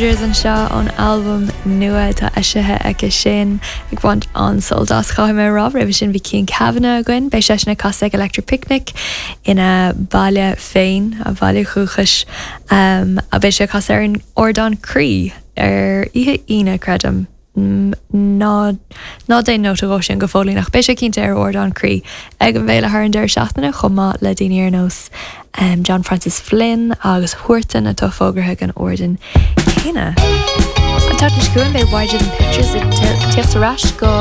Rogers anseo ón albam nua atá eisithe aici sin ag baint an-sult as. Caithfidh mé a rá, roimhe sin bhí Cian Kavanagh againn, beidh seisean ag casadh ag Electric Picnic ina bhaile féin, a bhaile dhúchais, beidh sé ag casadh ar an ardán Croí ar oíche Aoine, creidim. Ná ná déan nóta dhó sin go fóillín ach beidh sé cinnte ar ardán Croí ag an bhféile thar an deireadh seachtaine chomh maith le daoine ar nós John Francis Flynn agus Huartan atá fógartha ag an ardán céanna. An tseachtain seo chugainn beidh Wider Than Pictures ag tíocht ar ais go.